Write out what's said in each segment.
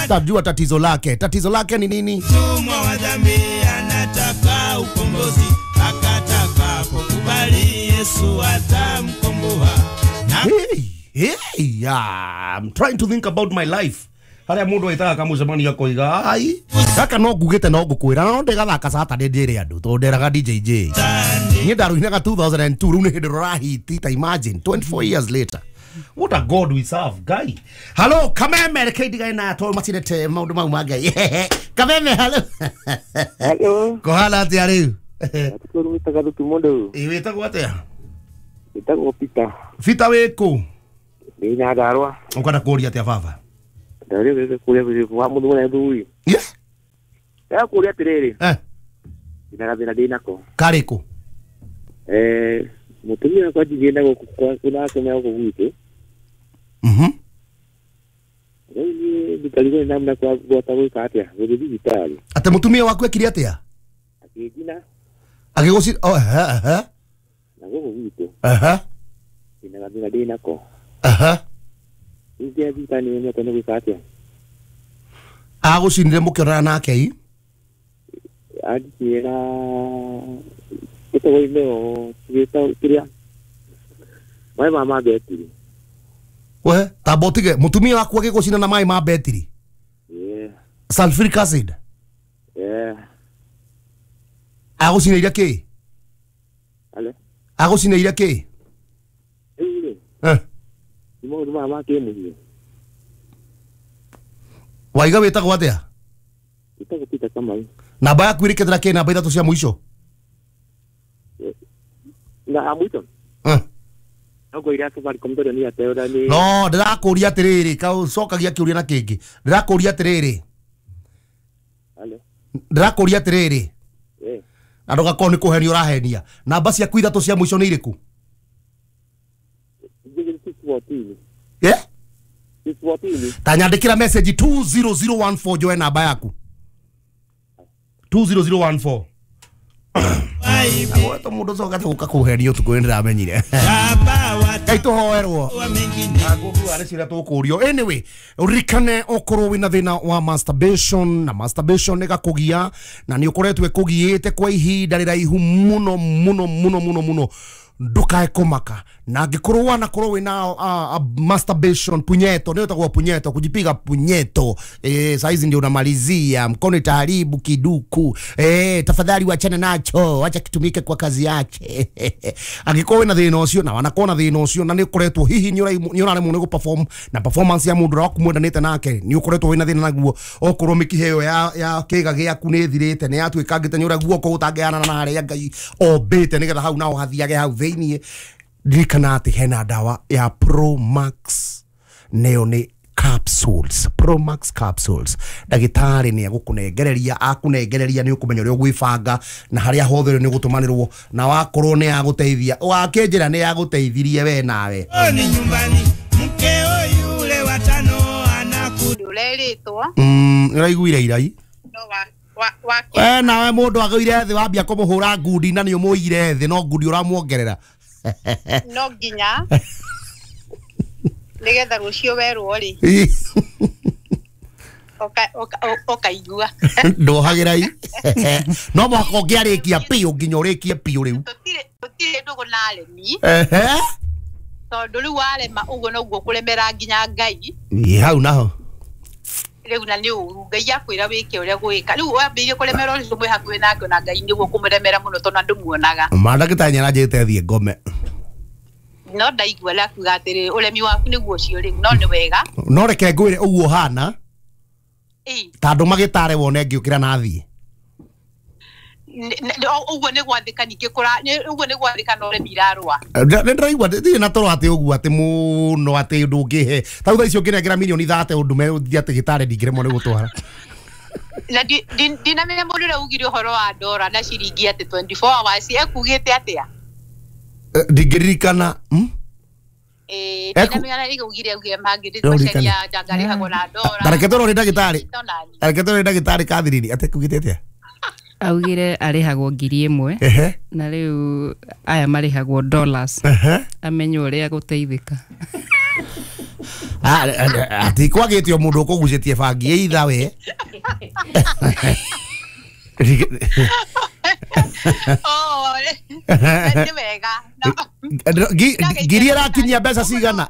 Tajua tatizo lake. Tatizo lake ni nini? Mtumwa wa dhambi anataka ukombozi, akataka kukubali Yesu atamkomboa. Hey, hey, I'm trying to think about my life. Haria mundu aitaga kamucemanio akoiga ai gaka no ngugite no ngukwira no ndigathaka Saturday ndire andu tondu nderaga DJ J. Niĩ ndaruinaga 2002 rĩu nĩ hĩndĩ rũrahiti ta imagine 24 years later. What a God we serve, guy. Hello, Kameme, reke ndigae na tondu matirete maundu mau ma Ngai. Kameme, hello. Hello. Kũhana atĩa rĩu? Atikũrũ wĩtaga Thutu mũndũ. Ĩ wĩtagwo atĩa? Wĩtagwo Peter. Peter wĩkũ? Ndĩ Nyandarũa. Ũkwenda kũũria atĩa baba? Ndarĩ kũrĩa wa mũndũ na thuri. Yes. Ndĩra kũũria atĩrĩrĩ. Eh. Ndĩna gathĩna ndĩ nako. Karĩkũ? Mũtumia wakwa njigĩte gũkũ kwa kũna gũkũ gwitũ. Mhm. Rĩu niĩ ndikarigwo nĩ namna kwa gwata gwĩka atĩa gũthiĩ thibitarĩ. Atĩ mũtumia waku ekire atĩa? Akĩnjina. Agĩgũci oh ehe ehe. Na gũkũ gwitũ. Ehe. Ndĩna gathĩna ndĩ nako. Ehe. Rĩu ngĩthiĩ thibitarĩ nĩmenyete nĩ gwĩka atĩa. Agũcinire mũkĩonana nake i? Anjĩra gĩtagwo imeo kĩrĩa maĩ ma betiri. We tamba ũtige mũtumia waku agĩgũcina na maĩ ma betiri? Yeah. Sulfuric acid? Yeah. Agũcinĩire kĩ? Ale. Agũcinĩire kĩ? Rĩu rĩ. Eh. Nĩ maũndũ maya ma kĩmũciĩ. Waiga wĩtagwo atĩa? Wĩtagwo Peter Kamau. Namba yaku ĩrĩkĩtĩra kĩ namba ithatũ cia mũico? Na mũico? Eh. No ngũira Safaricom tondũ niĩ ateũra nĩ No, ndĩrakũria atĩrĩrĩ, cokagia kĩũria na kĩngĩ. Ndĩrakũria atĩrĩrĩ. Ale. Ndĩrakũria atĩrĩrĩ. Eh. Na ndũgakorwo nĩ kũhenia ũrahenia. Namba ciaku ithatũ cia mũico nĩ irĩkũ? 614. Yeah? 614. Ta nyandĩkĩra message 20014 njoe namba yaku. 20014. Agwetwo mũndũ ũcoka gũka kũhenia ũtukũ nĩ ndĩramenyire. Ngai tũhoerwo. Ngũkua nĩ ciũria tũkũrio. Anyway, ũririkane ũkorwo wĩna thĩna wa masturbation na masturbation ĩgakũgia na nĩ ũkoretwo ĩkũgiĩte kwa ihinda rĩraihu mũno mũno mũno mũno mũno ndukae kũmaka na angĩkorwo wanakorwo wĩna masturbation punyeto nĩyo ĩtagwo punyeto kujipiga punyeto saizi ndio unamalizia mkono itaharibu kiduku tafadhali wachana nacho acha kitumike kwa kazi yake angĩkorwo wĩna thĩna ũcio na wanakorwo na thĩna ũcio na nĩ ũkoretwo hihi nĩ ũraremwo nĩ gũperform na performance ya mũndũ ũrĩa waku mwendanĩte nake nĩ ũkoretwo wĩna thĩna naguo okorwo mĩkiha ĩyo ya kĩga gĩaku nĩ ĩthirĩte nĩ yatuĩkangĩte nĩ ũrĩa guoko gũtangĩanana na harĩa Ngai ombĩte nĩgetha hau naho hathiage hau thĩiniĩ ndirikana atĩ hena ndawa ya Promax neyo nĩ capsules Promax capsules ndagĩtarĩ nĩ egũkũnengereria akũnengereria nĩ ũkũmenya ũrĩa ũgwĩbanga na harĩa hothe nĩ ũgũtũmanĩrwo na wakorwo nĩ yagũteithia wakĩnjĩra nĩ yagũteithirie we nawe Ni nyumbani mkeo yule watano anakurerĩtwo nĩũraiguire irai no wa we nawe mũndũ agũire thĩ wambia kũmũhũra ngundi na nĩ ũmũire thĩ no ngundi ũramuongerera no nginya nigetha rũciũ werwo rĩ ũkaigua ndohagĩra i no mũhaka ũngĩarĩkia piũ nginya ũrĩkie piũ rĩu tũtirĩ ndũgũ na aremi tondũ rĩu warema ũguo noguo kũremera nginya Ngai ĩ hau naho rĩu na nĩ ũru Ngai akwĩra wĩke ũrĩa gwĩka rĩu wambĩrĩrie kũremera ũcio mwĩ hakuhĩ nake na Ngai nĩguo kũmũremera mũno tondũ andũ muonaga mandagĩtarĩ nĩaranjĩrĩte thiĩ ngome no ndaigua rakuga atĩrĩ ũremi waku nĩguo ũcio rĩu no nĩ wega no reke ngwĩre ũguo hana ta andũ magĩtare wone ngĩũkĩra na thiĩ ũguo nĩ gwathĩka ningĩ ũguo nĩ gwathĩka na ũremi irarũa nĩ ndĩraigua ndirĩ na toro atĩ ũguo atĩ mũno atĩ ndũngĩhe ta rĩu thaa ici ũngĩnengera mirioni 30 ũndũme ũthiĩ atĩ gĩtarĩ ndingĩremwo nĩ gũtwara na ndinamenya mũndũ ũrĩa ugire ũhoro wa ndora na ciringi atĩ 24 hours ekugĩte atĩa ndingĩririkana ndinamenya na ugire ugire mangĩrĩcaria njangarĩhagwo na ndora tareke tũrore ndagĩtarĩ tareke tũrore ndagĩtarĩ Catherine atĩ kugĩte atĩa augire arĩhagwo 1000 na rĩu aya marĩhagwo dollars amenye ũrĩa gũteithĩka Ati kwagĩte o mũndũ ũkũgucĩtie bangi either we. Oh, nĩ wega. Ngiri ĩrakinyia mbeca cigana?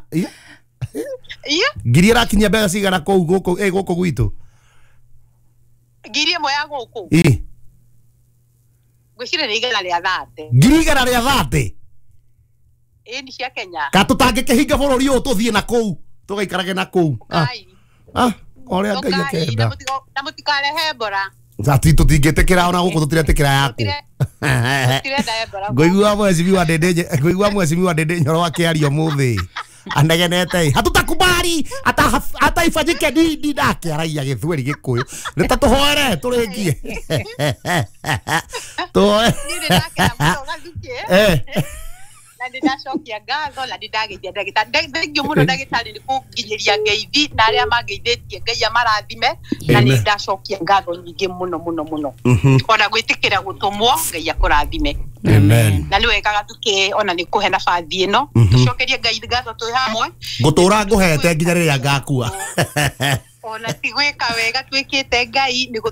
Ngiri ĩrakinyia mbeca cigana kũu gũkũ gũkũ gwitũ? Ngiri ĩmwe ya gũkũ. Ngwĩciria nĩ 130. Ngiri 130? Ĩĩ nĩ cia Kenya. Ka tũtangĩkĩhinga bũrũri ũyũ tũthiĩ na kũu tũgaikarage na kũu. Ũrĩa Ngai akenda. Na mũtikarehe Ebola. Ati tũtingĩtĩkĩra ona gũkũ tũtiretĩkĩra yaku. Ngũigua mwecimiwa Ndĩndĩ, ngũigua mwecimiwa Ndĩndĩ Nyoro akĩaria ũmũthĩ anegenete hatutakubali hata ifanyike nini nake aragia gĩthweri gĩkũyũ nĩ ta tũhoere tũrĩkie tũhoere. Niĩ nĩndakena mũno Gathukĩ. Na nĩndacokia ngatho na nĩndageithia ndagĩtarĩ. Thengiũ mũno ndagĩtarĩ nĩ kũnginyĩria ngeithi na arĩa mangeithĩtie Ngai amarathime na nĩndacokia ngatho nyingĩ mũno mũno mũno. Ona gwĩtĩkĩra gũtũmwo Ngai akũrathime. Amen. Na nĩ wega Gathukĩ ona nĩ kũhe nabathi ĩno tũcokerie Ngai ngatho twĩ hamwe. Ngũtũra ngũhete nginya rĩrĩa ngakua. Ona ti gwĩka wega twĩkĩte Ngai nĩ